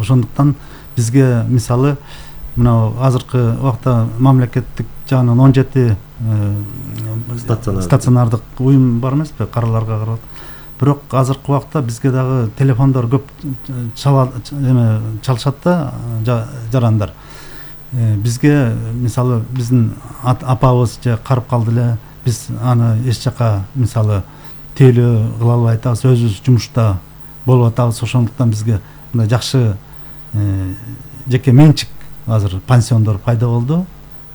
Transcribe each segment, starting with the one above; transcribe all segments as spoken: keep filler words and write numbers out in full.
Ошондуктан бизге мисалы мына азыркы убакта мамлекеттик жагынан он жети стационардык уюм бар эмеспи, караларга карап. Бирок азыркы убакта бизге дагы телефондор көп чалышат да, жарандар. Бизге мисалы биздин апабыз же карып калды эле, биз аны эч жака мисалы тейлөө кыла албай атабыз, өзүбүз жумушта болуп атабыз. Ошондуктан бизге мындай жакшы жеке менчик азыр пансиондор пайда болду,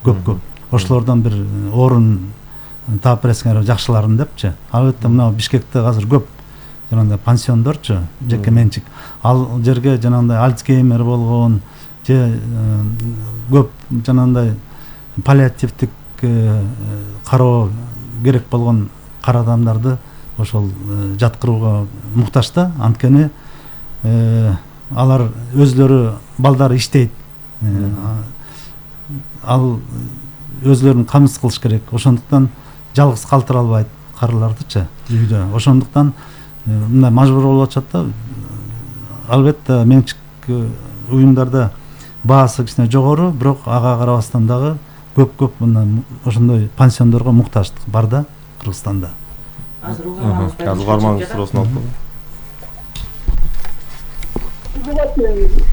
көп-көп. Ошолордон бир орун таап берсеңер жакшыларын депчи. Албетте мына Бишкекте азыр көп жанагындай пансиондорчу, жеке менчик. Ал жерге жанагындай Альцгеймер болгон же көп жанагындай паллиативдик кароо керек болгон кара адамдарды ошол жаткырууга муктаж да. Анткени алар өзлөрү балдары иштейт. Ал өзлөрүн камсыз кылыш керек. Ошондуктан жалгыз калтыра албайт карылардычы үйдө. Ошондуктан мындай мажбур болуп атышат да. Албетте менчик уюмдарда баасы кичине жогору, бирок ага карабастан дагы көп-көп мындай ошондой пансиондорго муктаждык бар да Кыргызстанда. Азыр угармаңыз суроосун алып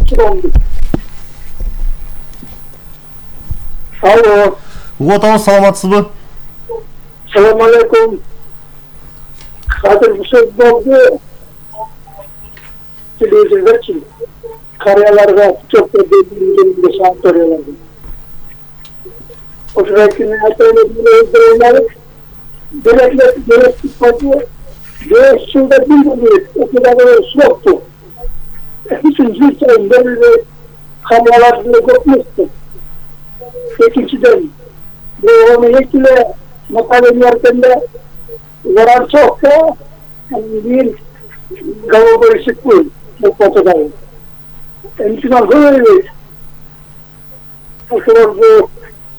келем. Алло. Угуп атабыз, саламатсызбы? Салам алейкум. Азыр сөз болду. Телевизордочу карыяларга көп берилгенде санаторияларда. Ошол күнү айтылган Devletler, devletlik parti, beş yılda bir gün okudaları soktu. Bütün Zülçay'ın belirli kameralarını kopmuştu. İkinciden, bu onu yekile makalenin yerinde zarar çok da bir gavur çıkıyor bu potadayım. Ençinden böyle ошолор bu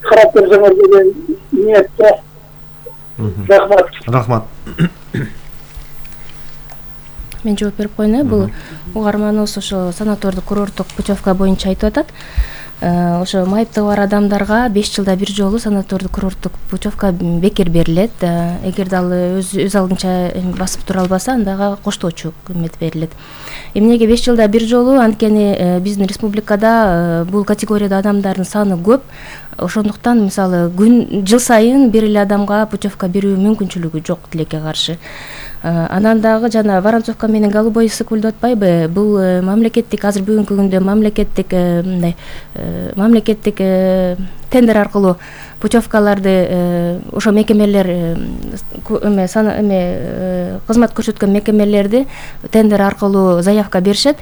karakter zamanında niyette Рахмат. Рахмат. Мен жооп берип коеюн. Бул угарманыбыз ошо санатордук курорттук путевка боюнча айтып атат. Ошо майыптыгы бар адамдарга беш жылда бир жолу санатордук курорттук путевка бекер берилет. Эгерде ал өз өз алдынча басып тура албаса, андага коштоочу өкмөт берилет. Эмнеге беш жылда бир жолу? Анткени биздин республикада бул категорияда адамдардын саны көп. Ошондуктан мисалы күн жыл сайын бир эле адамга путевка берүү мүмкүнчүлүгү жок тилекке каршы. Анан дагы жана Воронцовка менен Голубой ысык деп атпайбы? Бул мамлекеттик азыр бүгүнкү күндө мамлекеттик мындай мамлекеттик тендер аркылуу путевкаларды ошо мекемелер эме саны эме кызмат көрсөткөн мекемелерди тендер аркылуу заявка беришет.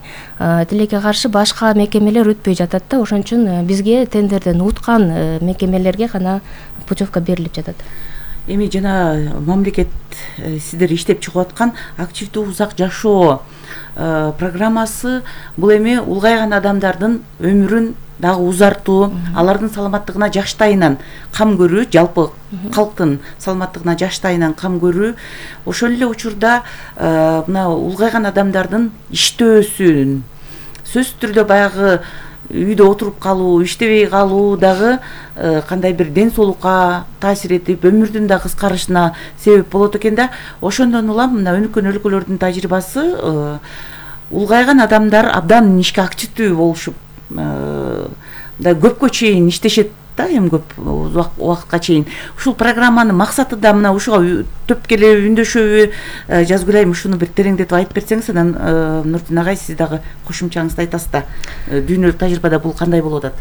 Тилекке каршы башка мекемелер өтпөй жатат да. Ошон үчүн бизге тендерден уткан мекемелерге гана путевка берилип жатат. Эми жана мамлекет сиздер иштеп чыгып аткан активдүү узак жашоо программасы бул эми улгайган адамдардын өмүрүн дагы узартуу, алардын саламаттыгына жаштайынан кам көрүү, жалпы калктын саламаттыгына жаштайынан кам көрүү. Ошол эле учурда мына улгайган адамдардын иштөөсүн сөзсүз түрдө баягы үйдө отуруп калуу, иштебей калуу дагы кандай бир ден соолукка таасир этип, өмүрдүн да кыскарышына себеп болот экен да. Ошондон улам мына өнүккөн өлкөлөрдүн тажрыйбасы улгайган адамдар абдан ишке активдүү болушуп, да көпкө чейин иштешет да, эми көп убакытка чейин. Ушул программанын максаты да мына ушуга төпкеле үндөшөбү, Жазгүлайым ушуну бир тереңдетип айтып берсеңиз, анан Нурдин агай сиз дагы кошумчаңызды айтасыз да. Дүйнөлүк тажрыйбада бул кандай болуп атат?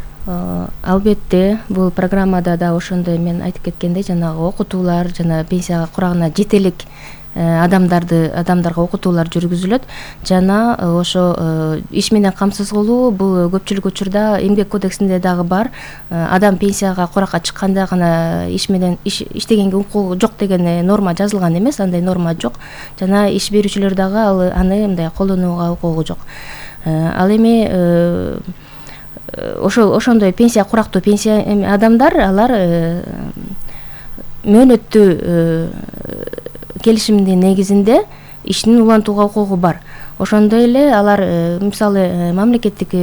Албетте, бул программада да ошондой мен айтып кеткендей, жанагы окутуулар, жана пенсияга курагына жетелик адамдарды адамдарга окутуулар жүргүзүлөт. Жана ошо иш менен камсыз кылуу бул көпчүлүк учурда эмгек кодексинде дагы бар. Адам пенсияга куракка чыкканда гана иш менен иштегенге укугу жок деген норма жазылган эмес, андай норма жок. Жана иш берүүчүлөр дагы ал аны мындай колдонууга укугу жок. Ал эми ошол ошондой пенсия курактуу пенсия адамдар алар мөөнөттүү келишимдин негизинде ишин улантууга укугу бар. Ошондой эле алар мисалы мамлекеттик